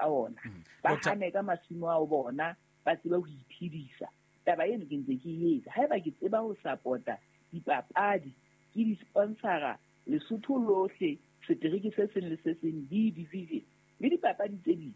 ka ona. Ba hane ka masimo ao bona, ba tsebe ho iphedisa. Taba eno ke ntse ke e etsa. Haeba ke tseba ho support-a dipapadi, ke di-sponsor-a Lesotho lohle, setereke se seng le se seng, B division, le dipapadi tse ding.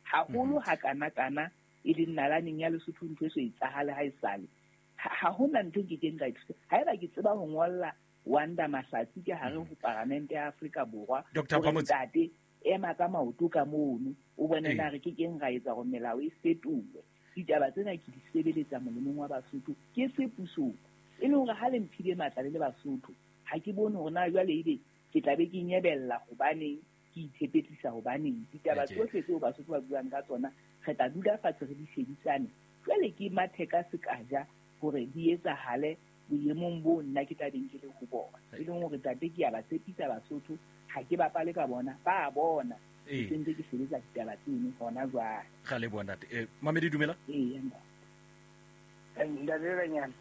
Haholo hakana-kana e leng nalaneng ya Lesotho ntho e so etsahale ha esale. Ha hona ntho e nkekeng ka e thusa. Haeba ke tseba ho ngolla Wanda Mahlatsi ka hare ho Paramente ya Afrika Borwa Doctor hore Phamotse. ntate ema ka maoto ka mono o bone na re ke keng ra etsa hore melao e fetolwe. Ditaba tsena ke di sebeletsa molemong wa Basotho ke se pusong. E le hore ha le mphile matla le le Basotho, ha ke bone hore na jwale ebe ke tla be ke nyebella hobaneng, ke ithepetlisa hobaneng. Ditaba tsohle tseo Basotho ba buang ka tsona re tla dula fatshe re di shebisane. Jwale ke mathe ka sekaja hore di etsahale boemong boo nna ke tla beng ke le ho bona. E leng hore tate ke a ba tshepisa Basotho, ha ke bapale ka bona, ba a bona. Ke sentse ke sebetsa ditaba tseno hona jwale. Ra leboha ntate. Mamedi dumela. Ee, ntate. Ntate Ranyana.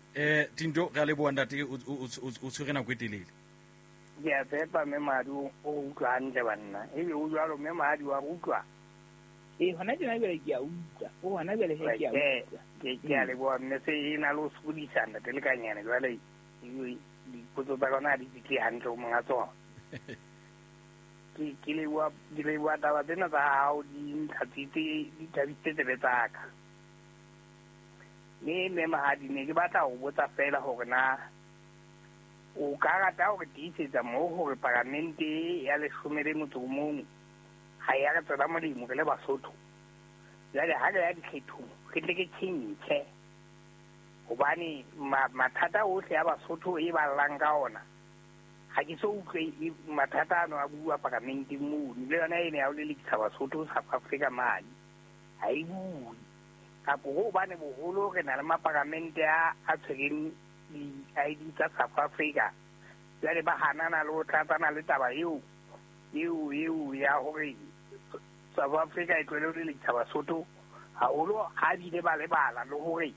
Tinto, re a leboha ntate, o tshwere nako e telele. Ke a tshepa mme Mahadi o utlwa hantle banna. Ebe o jwalo mme Mahadi wa utlwa? Ee, hona tjena jwale ke a utlwa. O hona jwale he ke a utlwa. Ke a leboha mme se e na le ho sokodisa ntate Lekanyane jwale dipotso tsa rona ha di fihle hantle ho monga tsona. Ke leboha taba tsena tsa hao di ntlhatswitse, di thabisitse tsebe tsa ka. Mme mme Mahadi ne ke batla ho botsa fela hore na o ka rata hore tiisetsa moo hore paramente ya leshome le motso o mong ha ya re tswela molemo re le Basotho. Jwale ha re ya dikgethong re tle ke tjhentjhe hobane mathata ohle a Basotho e ballang ka ona ha ke so utlwe mathata ano a bua paramenteng mono. Le yona ene ya ho lelekisa Basotho South Africa mane ha e bue. Kapo hobane boholo re na le maparamente a tshwereng di-ID tsa South Africa, jwale ba hanana le ho tlatsana le taba eo eo ya hore South Africa e tlohele ho lelekisa Basotho haholo, ha bile ba lebala le hore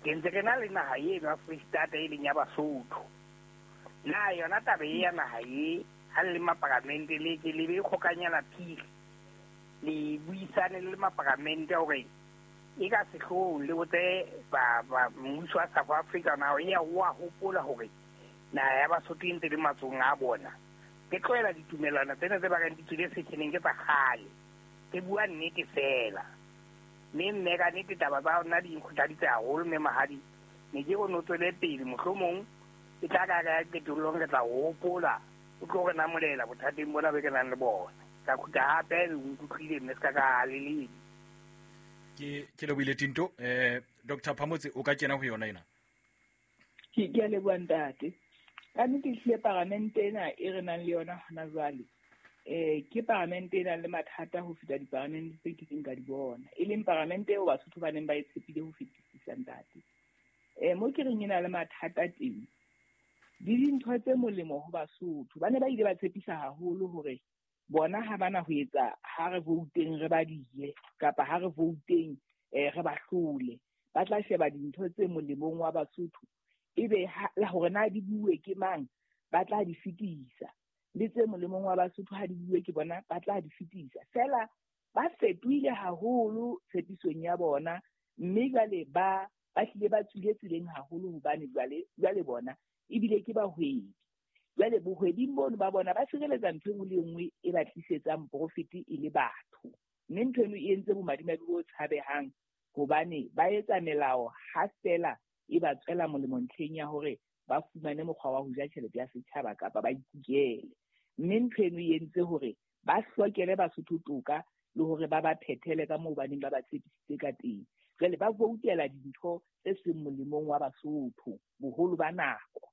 ke ntse re na le naha eno ya Free State e leng ya Basotho. Na yona taba e ya naha e ha le maparamente le ke le be kgokanyana phiri le buisane le maparamente hore e ka sehloohong le botse ba mmuso wa South Africa na e ya wa hopola hore naha ya Basotho e ntse le matsohong a bona. Ke tlohela ditumelwana tsena tse ba reng di tswile setjheneng ke tsa kgale. Ke bua nnete fela. Mme mme ka nnete taba tsa nna di nkgothaditse haholo mme Mahadi ne ke o no tswele pele mohlomong e tla ka ya qetellong re tla hopola o tlo re namolela bothateng bona be ke nang le bona. Ka khutla hape le nkutlwile mme se ka ka le ledi. Ke lebohile Tinto. Doctor Phamotse o ka kena ho yona ena. Ke a leboha ntate. Ka nnete ehlile paramente ena e re nang le yona hona jwale, ke paramente e nang le mathata ho feta diparamente tse kileng ka di bona. E leng paramente eo Basotho ba neng ba e tshepile ho fetisisa ntate. Mo ke reng e na le mathata teng, le dintho tse molemo ho Basotho. Ba ne ba ile ba tshepisa haholo hore bona ha bana ho etsa ha re vouteng re ba diye kapa ha re vouteng re ba hlole. Ba tla sheba dintho tse molemong wa Basotho ebe la hore na di bue ke mang ba tla di fetisa, le tse molemong wa Basotho ha di bue ke bona ba tla di fetisa. Fela ba fetohile haholo tshepisong ya bona, mme jwale ba hlile ba tswile tseleng haholo hobane jwale bona ebile ke bahwebi. Jwale bohwebing bono ba bona ba sireletsa ntho e nngwe le e nngwe e ba tlisetsang profit e le batho. Mme ntho eno e entse bomadimabe bo tshabehang hobane ba etsa melao ha fela e ba tswela molemo ntlheng ya hore ba fumane mokgwa wa ho ja tjhelete ya setjhaba kapa ba ikukele. Mme ntho eno e entse hore ba hlokele Basotho toka le hore ba ba phethele ka moo ba neng ba ba tshepisitse ka teng. Jwale ba voutela dintho tse seng molemong wa Basotho boholo ba nako.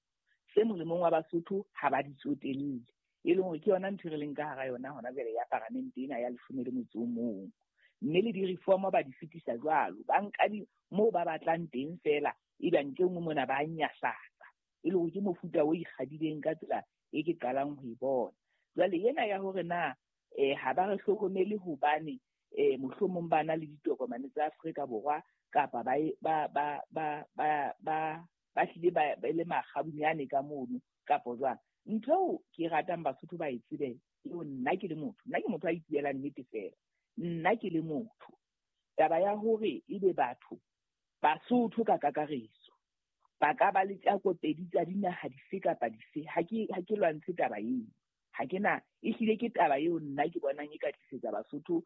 Se molemong wa Basotho ha ba di tsotelle. E leng hore ke yona ntho e re leng ka hara yona hona jwale ya paramente ena ya leshome le motso o mong. Mme le di-reform ba di fetisa jwalo. Ba nka moo ba batlang teng fela, ebe ntle nngwe mona ba nyahlatsa. E leng hore ke mofuta o ikgadileng ka tsela e ke qalang ho e bona. Jwale ena ya hore na ha ba re hlokomele hobane mohlomong ba na le ditokomane tsa Afrika Borwa kapa ba hlile ba le makgabunyane ka mono kapo jwang. Ntho eo ke ratang Basotho ba e tsebe eo nna ke le motho, nna ke motho a ipuelang nnete fela. Nna ke le motho, taba ya hore ebe batho Basotho ka kakaretso ba ka ba le tjako pedi tsa dinaha dife kapa dife, ha ke lwantshe taba eo. Ha ke na, ehlile ke taba eo nna ke bonang e ka tlisetsa Basotho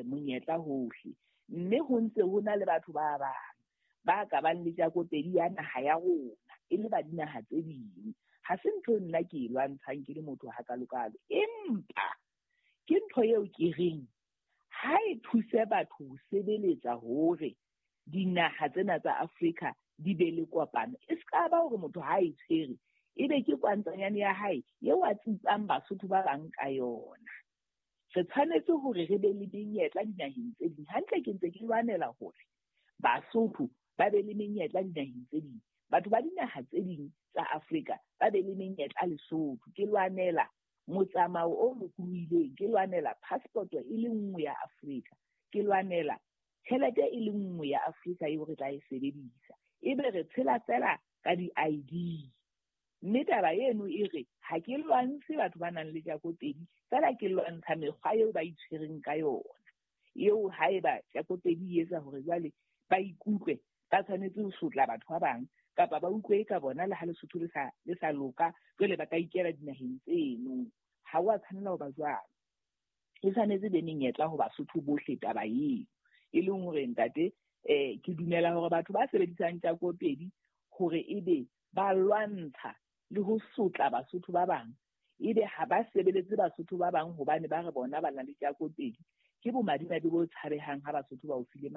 monyetla hohle. Mme ho ntse ho na le batho ba bang ba ka bang le tjako pedi ya naha ya rona e le ba dinaha tse ding. Ha se ntho nna ke e lwantshang ke le motho hakalokalo, empa ke ntho eo ke reng ha e thuse batho ho sebeletsa hore dinaha tsena tsa Afrika di be le kopano. E se ka ba hore motho ha e tshwere ebe ke kwantsanyane ya hae eo a tsitsang Basotho ba bang ka yona. Re tshwanetse hore re be le menyetla dinaheng tse ding. Hantle ke ntse ke lwanela hore Basotho ba be le menyetla dinaheng tse ding. Batho ba dinaha tse ding tsa Afrika ba be le menyetla Lesotho. Ke lwanela motsamao o lokolohileng, ke lwanela passport e le nngwe ya Afrika, ke lwanela tjhelete e le nngwe ya Afrika eo re tla e sebedisa. Ebe re tshela fela ka di-ID. Mme taba eno e re ha ke lwantshe batho ba nang le tjako pedi, fela ke lwantsha mekgwa eo ba itshwereng ka yona. Eo haeba tjako pedi e etsa hore jwale ba ikutlwe ba tshwanetse ho sotla batho ba bang kapa ba utlwe ka bona le ha Lesotho le sa loka, jwale ba ka ikela dinaheng tseno. Ha o a tshwanela ho ba jwalo. E tshwanetse be menyetla ho Basotho bohle taba eo. E leng hore ntate, ke dumela hore batho ba sebedisang tjako pedi hore ebe ba lwantsha le ho sotla Basotho ba bang, ebe ha ba sebeletse Basotho ba bang hobane ba re bona ba na le tjako pedi, ke bomadimabe bo tshabehang ha Basotho ba o file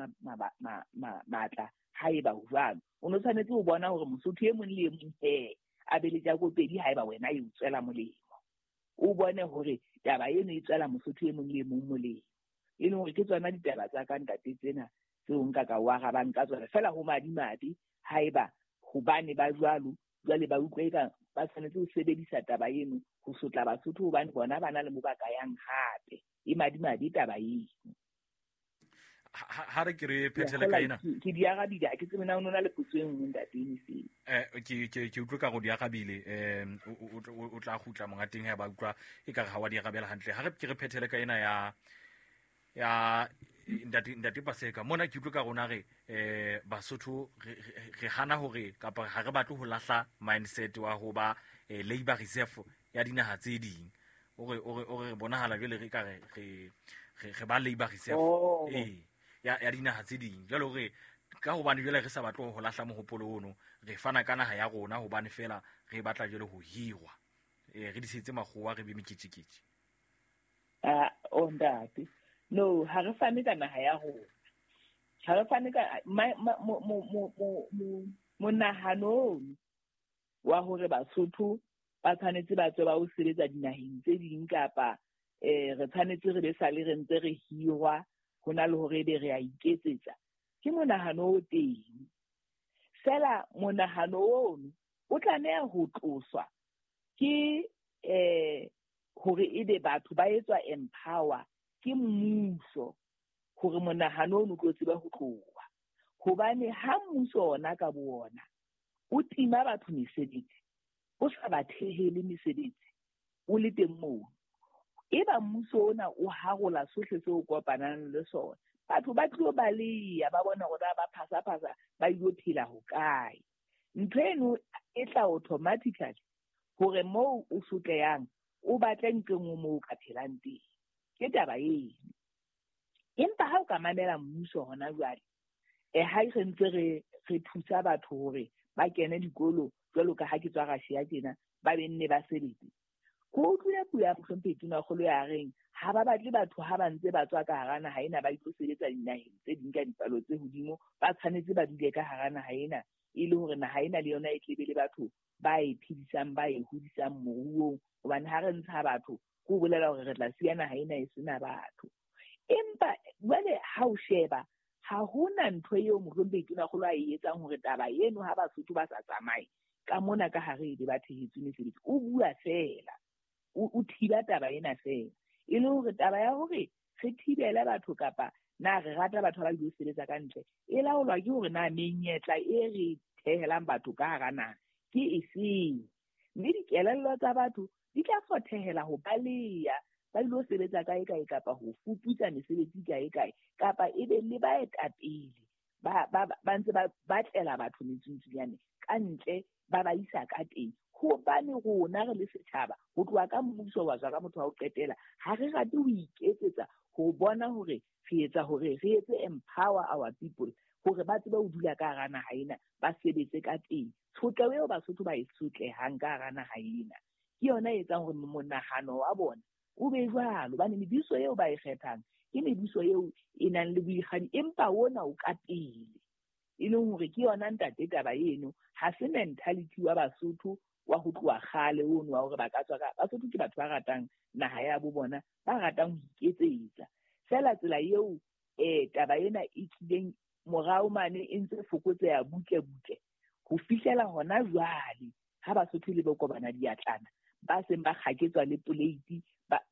matla haeba ho jwalo. O no tshwanetse ho bona hore Mosotho e mong le e mong he a be le tjako pedi haeba wena e o tswela molemo. O bone hore taba eno e tswela Mosotho e mong le e mong molemo. E leng hore ke tsona ditaba tsa ka ntate tsena tseo nka ka o arabang ka tsona. Feela ho madimabe haeba hobane ba jwalo, jwale ba utlwe eka ba tshwanetse ho sebedisa taba eno ho sotla Basotho hobane bona ba na le mo ba ka yang hape. E madimabe taba eno. Ha re ke re phethele ka ena. Ke di arabile, ha ke tsebe na o na le potso e nngwe ntate Eniseng. Ke utlwe ka go di arabile, o tla kgutla monga teng ha ba utlwa e ka re ha wa di arabela hantle. Ha re ke re phethele ka ena ya ntate Paseka. Mona ke utlwe ka rona re Basotho re hana hore kapa ha re batle ho lahla mindset wa ho ba labor reserve ya dinaha tse ding. O re bonahala jwale re ka re ba labor reserve ya dinaha tse ding. Jwale hore ka hobane jwale re sa batle ho lahla mohopolo ono, re fana ka naha ya rona hobane fela re batla jwale ho hirwa. Re disetse makgowa re be meketjeketje. O ntate. No, ha re fane ka naha ya rona. Ha re fane ka monahano wa hore Basotho ba tshwanetse ba tswe ba o sebetsa dinaheng tse ding kapa re tshwanetse re be sale re ntse re hirwa ho na le hore ebe re a iketsetsa. Ke monahano o teng. Fela monahano ono o tlameha ho tloswa ke hore ebe batho ba etswa empower ke mmuso hore monahano ono o tlo tsebe ho tloha. Hobane ha mmuso ona ka bo ona o tima batho mesebetsi, o sa ba thehele mesebetsi, o le teng moo, eba mmuso ona o harola sohle seo kopanang le sona, batho ba tlo baleha, ba bona hore ba phasa-phasa ba ilo phela hokae. Ntho eno e tla automatically hore moo o sotleyang o batle ntho e nngwe moo o ka phelang teng. Ke taba eno. Empa ha o ka mamela mmuso hona jwale, ha re ntse re thusa batho hore ba kene dikolo jwalo ka ha ke tswa Russia tjena, ba be nne ba sebetse. Ko utlwile puo ya Mohlomphehi Tonakgolo ya reng ha ba batle batho ha ba ntse ba tswa ka hara naha ena ba itlo sebetsa dinaheng tse ding ka dipalo tse hodimo, ba tshwanetse ba dule ka hara naha ena e le hore naha ena le yona e tlebe le batho ba e phedisang, ba e hodisang moruong. Hobane ha re ntsha batho, ko bolela hore re tla siya naha ena e sena batho. Empa jwale ha o sheba, ha hona ntho eo Mohlomphehi Tonakgolo a e etsang hore taba eno ha Basotho ba sa tsamaye ka mona ka hare ebe ba thehetswe mesebetsi. O bua fela, o thiba taba ena fela. E le hore taba ya hore re thibele batho kapa na re rata batho ba ilo sebetsa ka ntle, e laolwa ke hore na menyetla e re thehelang batho ka hara naha ke efeng. Mme dikelello tsa batho di tla fothehela ho baleha, ba ilo sebetsa kae kae kapa ho fuputsa mesebetsi kae kae, kapa ebe le baetapele ba ntse ba batlela batho metsungtsunyane ka ntle ba ba isa ka teng. Hobane rona re le setjhaba, ho tloha ka mmuso wa tswa ka motho wa ho qetela, ha re rate ho iketsetsa ho bona hore re etsa hore re etse empower our people hore ba tsebe ho dula ka hara naha ena, ba sebetse ka teng. Tshotleho eo Basotho ba e sotlehang ka hara naha ena ke yona e etsang hore monahano wa bona o be jwalo, hobane mebuso eo ba e kgethang ke mebuso eo e nang le boikgadi, empa ona o ka pele. E leng hore ke yona ntate taba eno, ha se mentality wa Basotho wa ho tloha kgale ono wa hore ba ka tswa ka. Basotho ke batho ba ratang naha ya bo bona, ba ratang ho iketsetsa. Feela tsela eo taba ena e tlileng morao mane e ntse fokotseha butle butle ho fihlela hona jwale ha Basotho le bokobana diatlana ba seng ba kgaketswa le poleiti,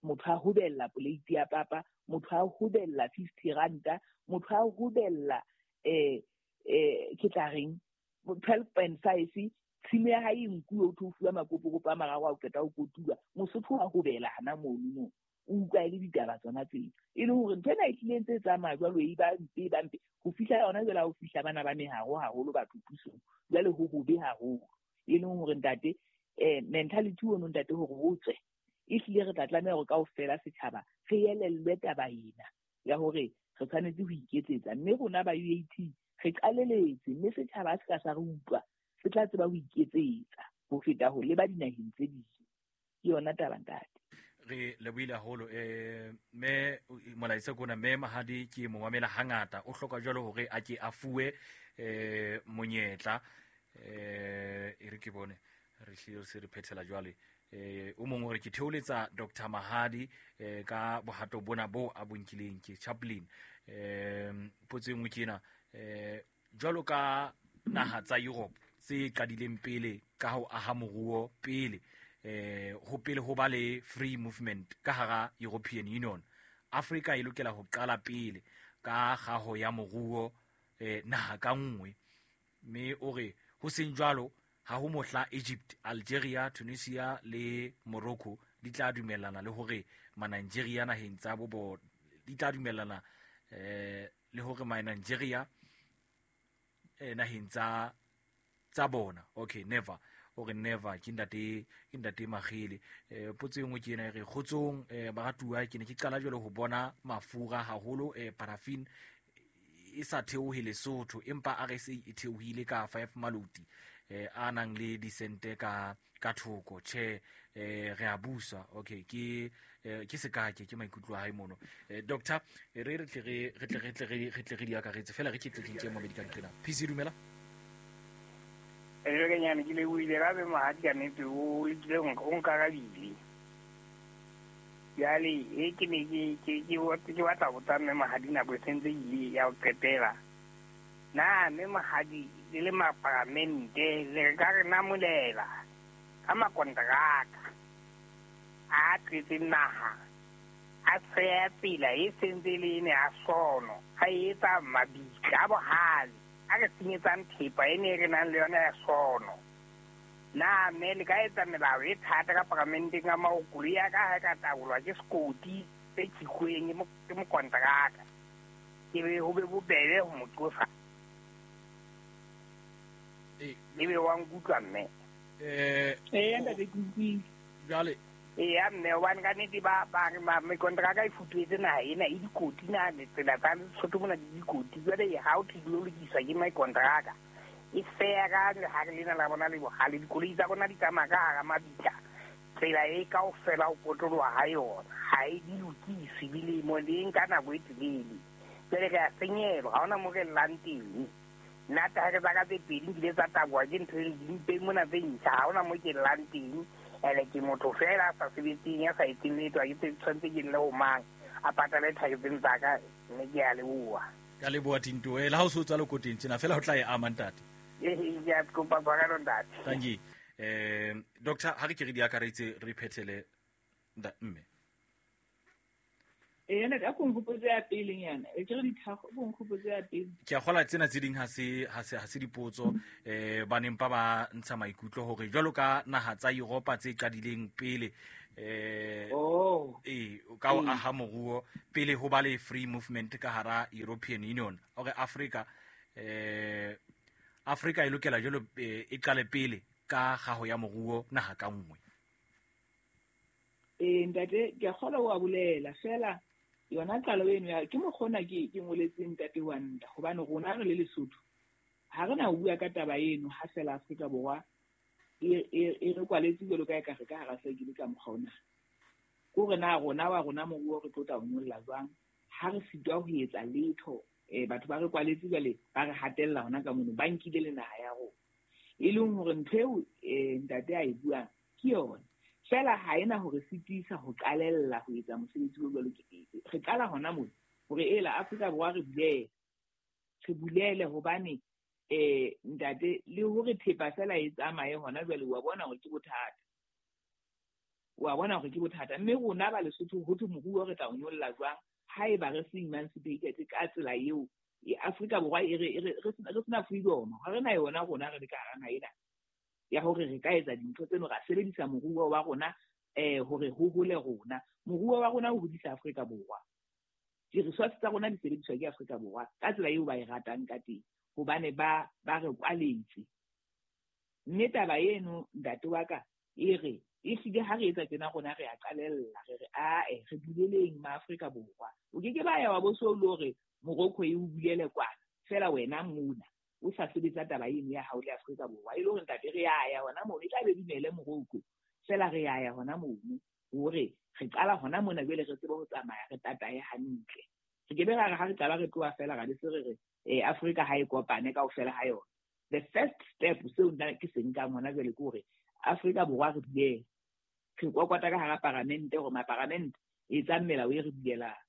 motho a hobella poleiti ya papa, motho a hobella 50 ranta, motho a hobella ke tla reng 12.5, tshimo ya hae e nkuwe, o tlo fuwa makopokopo a mararo a o qeta ho kotulwa, Mosotho wa hobela hana mono moo. O utlwa e le ditaba tsona tseo. E leng hore ntho ena e tlile ntse e tsamaya jwalo, e ba mpe, e ba mpe. Ho fihla yona jwale ha ho fihla bana ba meharo haholo batho pusong, jwale ho hobe haholo. E leng hore ntate, mentality ono ntate hore o tswe, e hlile re tla tlameha hore kaofela setjhaba re elellwe taba ena ya hore re tshwanetse ho iketsetsa. Mme rona ba UAT re qaleletse, mme setjhaba se ka sa re utlwa, se tla tseba ho iketsetsa ho feta ho leba dinaheng tse ding. Ke yona taba ntate. Re lebohile haholo, mme molaetsa kona mme Mahadi ke mo mamela hangata, o hloka jwalo hore a ke a fuwe monyetla. E re ke bone re hlile se re phethela jwale. O mongwe hore ke theoletsa Dr. Mahadi ka bohato bona bo a bonkileng ke Chaplin. Potso e nngwe ke ena, jwalo ka naha tsa Europe tse qadileng pele ka ho aha moruo pele, ho pele ho ba le free movement ka hara European Union, Afrika e lokela ho qala pele ka kgaho ya moruo naha ka nngwe. Mme o re ho seng jwalo ha ho mohla Egypt, Algeria, Tunisia le Morocco di tla dumellana le hore ma-Nigeria naheng tsa bo di tla dumellana le hore ma-Nigeria naheng tsa bona. Okay, never. O re never, ke ntate Magele. Potso e nngwe ke ena e re kgotsong, baratuwa, ke ne ke qala jwale ho bona mafura haholo, paraffin e sa theohe Lesotho, empa RSA e theohile ka 5 maloti a nang le disente ka thoko. Tjhe, re a busa. Okay, ke sekake ke maikutlo a hae mono. Doctor, re tle re di akaretse fela re ke tle ke mabedi ka nqena. PC dumela. Re kenyane ke le buile ka be Mahadi ka nnete o lekile o nkarabile. Jwale e ke ne ke batla ho botsa mme Mahadi nako e sentse ile ya ho qetela. Na mme Mahadi le le maparamente le ka re namolela ka makontraka a tletseng naha, a tsheya tsela e sentse le ene a sono, a etsa mabitla a bohale, a re senyetsang thepa e ne re nang le yona ya sono. Na mme le ka etsa melao e thata ka paramenteng ka maokolo ya ka ha e ka tabolwa ke sekoti se tjhikuweng ke mokontraka, ke be ho be bobebe ho mo qosa. Ebe wa nkutlwa mme? Ntate ke utlwile. Jwale Eya mme, hobane ka nnete ba mekontraka e futuhetse naha ena e dikoti na tsela tsa Lesotho mona di dikoti. Jwale ha o thwe di lokiswa ke mekontraka e feya ka lehare lena la bona le bohale, dikoloi tsa rona di tsamaya ka hara mabitla, tsela e kaofela ho potoloha ha yona ha e di lokiswe dilemo le nka nako e telele. Jwale re a senyelwa, ha hona moo re llang teng. Nna taere tsa ka tse pedi nkile tsa taboha ke ntho e dimpe mona tse ntjha, ha hona moo ke llang teng. Ene ke motho fela a sa sebetseng, ya sa etseng letho, ha ke tshwanetse ke lle ho mang a patale thaere tseno tsa ka, mme ke a leboha. Ka leboha Tinto. Le ha o so tswa lekoteng tjena fela ho tla e ama ntate. Ke a kopa tshwarelo ntate. Thank you. Doctor, ha re ke re di akaretse re phethele mme. Ntate, a ko nkgopotse ya pelenyana. E ke re dithakgo, o ko nkgopotse ya pele. Ke a kgola tsena tse ding ha se dipotso, ba neng ba ba ntsha maikutlo hore jwalo ka naha tsa Europa tse qadileng pele, ka ho aha moruo pele ho ba le free movement ka hara European Union, hore Afrika Afrika e lokela jwalo e qale pele ka kgaho ya moruo naha ka nngwe. Ntate, ke a kgolwa o a bolela fela yona qalo eno ya ke mokgona ke ngoletseng ntate wa nta, hobane rona re le Lesotho ha re na ho bua ka taba eno ha fela Afrika Borwa e re kwaletse jwalo ka ekare ka hara sekele ka mokgwa ona. Ke hore na rona wa rona moruo re tlo tla o nyolla jwang ha re sitwa ho etsa letho. Batho ba re kwaletse jwale ba re hatella hona ka mono, ba nkile le naha ya rona, e leng hore ntho eo ntate a e buang ke yona fela ha ena hore sitisa ho qalella ho etsa mosebetsi o jwalo. Re qala hona mona hore ela Afrika Borwa re bulele hobane ntate le hore thepa fela e tsamaye hona jwale wa bona hore ke bothata, wa bona hore ke bothata. Mme rona ba Lesotho ho thwe moruo re tla o nyolla jwang haeba re se emancipated ka tsela eo Afrika Borwa e re sena freedom, ha re na yona rona re le ka hara naha ena ya hore re ka etsa dintho tseno, ra sebedisa moruo wa rona hore ho hole rona. Moruo wa rona o hodisa Afrika Borwa, di-resource tsa rona di sebediswa ke Afrika Borwa ka tsela eo ba e ratang ka teng, hobane ba re kwaletse. Mme taba eno ntate wa ka e re ehlile ha re etsa tjena rona re a qalella, re re ae re buleleng ma Afrika Borwa. O ke ke ba ya wa bo so le hore Morocco e o bulele kwana fela wena mona o sa sebetsa taba eno ya hao le Afrika Borwa, e le hore ntate re a ya hona mono, e tla be dumele Morocco fela re a ya hona mono hore re qala hona mona jwale re tsebe ho tsamaya re tatae hantle. Re ke be ra re ha re qala re tloha fela ra be se re re Afrika ha e kopane kaofela ha yona. The first step seo nna ke se nkang hona jwale ke hore Afrika Borwa re bulele, re kokota ka hara paramente hore maparamente e etsang melao e re bulelang.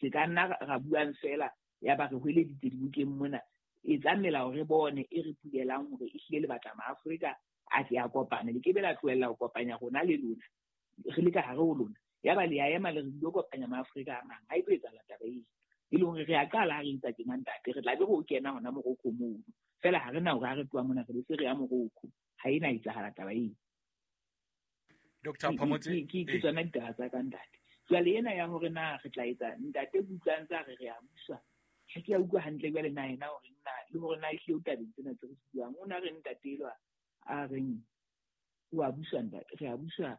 Se ka nna ra buang fela ya ba re hweleditse dibukeng mona, etsang melao re bone e re bulelang hore ehlile le batla maAfrika a tle a kopane. Le ke be la tlohella ho kopanya rona le lona, re le ka hare ho lona, ya ba le a ema le re lo kopanya maAfrika a mang. Ha e tlo etsahala taba eo, e leng hore re a qala ha re etsa tjena ntate, re tla be re o kena hona Morocco mono fela, ha re na hore ha re tloha mona re be se re ya Morocco, ha e na etsahala taba eo. Dr. Phamotse, ke tsona ditaba tsa ka ntate. Jwale ena ya hore na re tla etsa ntate kutlwang tsa re a buswa, ha ke a utlwa hantle jwale na yena hore nna le hore na ehlile o tabeng tsena tse re di buang. O na re ntate elwa a reng o a buswa ntate, re a buswa,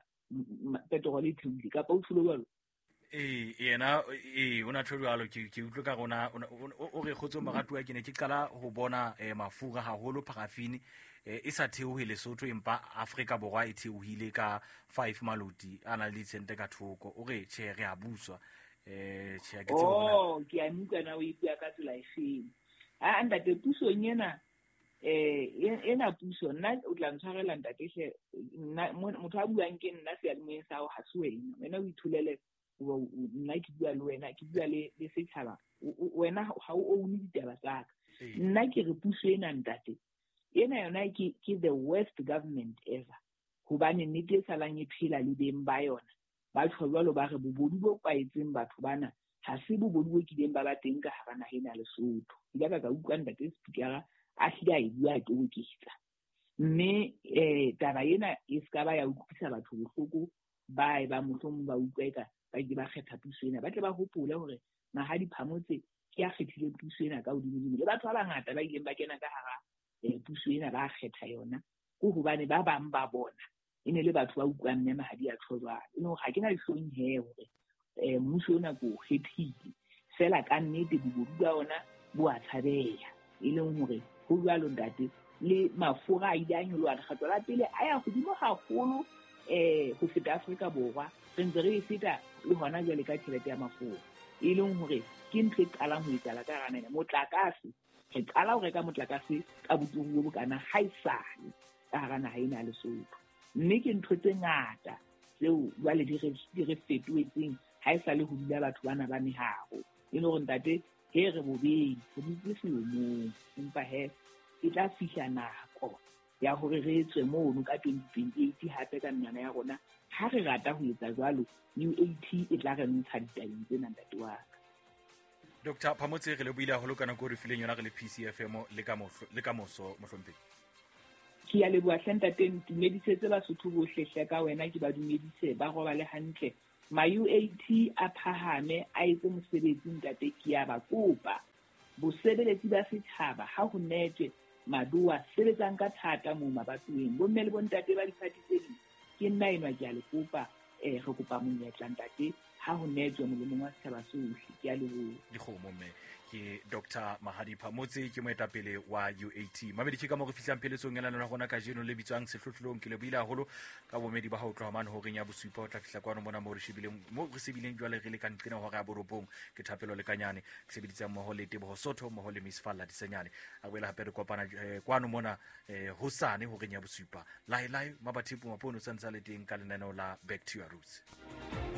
petrol e theohile kapa o tsholo jwalo? Yena o na tjho jwalo. Ke utlwe ka rona o re kgotso moratuwa, ke ne ke qala ho bona mafura haholo paraffin e sa theohe Lesotho, empa Afrika Borwa e theohile ka 5 maloti a na le ditsente ka thoko. O re tjhe re a buswa. Tjhe ke tsebe hore ke a utlwa na o e bua ka tsela efeng. Ha ntate pusong ena ena puso nna o tla ntshwarela ntate hle, nna motho a buang ke nna seyalemoyeng sa hao ha se wena, wena o itholele nna ke bua le wena, ke bua le setjhaba, wena ha o own ditaba tsa ka. Nna ke re puso ena ntate ena yona ke the worst government ever, hobane nnete e salang e phela le beng ba yona ba tjho jwalo, ba re bobodu bo kwaetseng batho bana ha se bobodu bo kileng ba ba teng ka hara naha ena ya Lesotho. Ke ile ka utlwa ntate speaker a hlile a e bua a toboketsa. Mme taba ena e ska ba ya utlwisa batho bohloko ba e ba mohlomong ba utlwa eka ba ke ba kgetha puso ena, ba tle ba hopole hore Mahadi Phamotse ke a kgethile puso ena ka hodimodimo, le batho ba bangata ba ileng ba kena ka hara puso ena ba kgetha yona ke hobane ba bang ba bona e ne le batho ba utlwang mme Mahadi a tjho jwalo. E leng hore ha ke na dihlong he hore mmuso ona ke o kgethile, fela ka nnete bobodu ba ona bo a tshabeha. E leng hore ho jwalo ntate, le mafura a ile a nyoloha lekgetlo la pele a ya hodimo haholo ho feta Afrika Borwa, re ntse re e feta le hona jwale ka tjhelete ya mafura, e leng hore ke ntho e qalang ho etsahala ka hara naha. Motlakase, re qala ho reka motlakase ka boturu bo bokana ha esale ka hara naha ena ya Lesotho. Mme ke ntho tse ngata tseo jwale di re fetohetseng ha esale ho dula batho bana ba meharo. E le hore ntate he re bobeng, re dutse selomong, empa he e tla fihla nako Ya hore re tswe mono ka 2028 hape ka menwana ya rona, ha re rata ho etsa jwalo, UAT e tla re ntsha ditabeng tsena, ntate wa ka. Dr Phamotse, re lebohile haholo ka nako o re fileng yona re le PCFM le ka moso, mohlomphehi. Ke ya leboha hle, ntate. Ntumedisetse Basotho bohle hle ka wena, ke ba dumedise, ba robale hantle. Ma-UAT a phahame, a etse mosebetsi, ntate, ke ya ba kopa. Bosebeletsi ba setjhaba, ha ho netswe madoa, sebetsang ka thata moo mabatoweng. Bomme le bontate ba diphathi tse ding, ke nna enwa, ke a le kopa. Re kopa monyetla, ntate, ha ho netswe molemong wa setjhaba sohle. Ke a leboha. Dikgomo mme ke Dr Mahadi Phamotse, ke moetapele wa UAT. Mamedi, ke ka mo re fihlang pheletsong ya lenaneo la rona kajeno le bitswang Sehlohlolong. Ke lebohile haholo ka bomedi ba ho tloha mane horeng ya bosupa ho tla fihla kwano mona mo re shebileng, mo re sebileng jwale re le ka nqena hora ya borobong. Ke Thapelo Lekanyane, ke sebeditsang mmoho le Teboho Sotho, mmoho le Miss Falla Disenyane. A boela hape re kopana kwano mona hosane horeng ya bosupa. Lae lae mabathipo mapono santsa le teng ka lenaneo la Back to Your Roots.